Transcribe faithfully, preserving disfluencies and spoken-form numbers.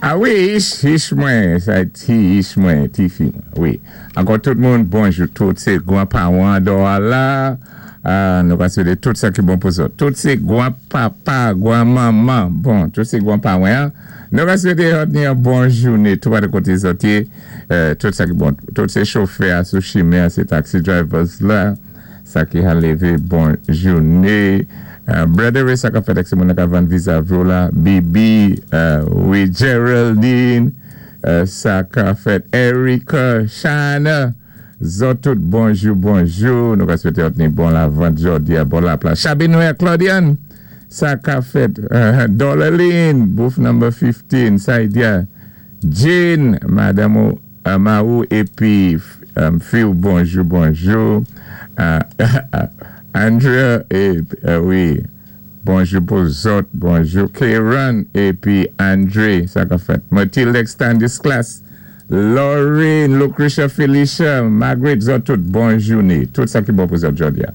A wi, ich, ich mwen, sa ti ich mwen, ti fi mwen, wi. Ankò tout moun, bonjou, tout sé gwan pawan dò la, nou ka swété tout sa ki bon pou zòt. Tout sé gwan papa, gwan manman, bon, tout sé gwan pawan, nou ka swété zòt ni yon bon jouné, tout pa de koté zòt yé, tout sa ki bon, tout sé chofè sou chimen, sé taxi drivers la, sa ki ka lévé bon jouné. Brother Ray sa ka fèt ak sé moun ka vann vizavi la, Bibi, wi, Geraldine, sa ka fèt Erika, Shana, zòt tout bonjou, bonjou, nou ka swété zòt ni bon lavant jòdi a, bon lapla. Chabinoy Claudiane, sa ka fèt Dollarine, booth number fifteen, Saidia, Jane, Madame Maou, épi Phil, bonjou, bonjou, Andrea, wi, bonjou pou zòt, bonjou Karen, épi Andre, sa ka fèt. Mathilde Extended Class, Lauren, Lucretia, Felicia, Margaret, zòt tout, bon jouné. Tout sa ki bon pou zòt jòdi a.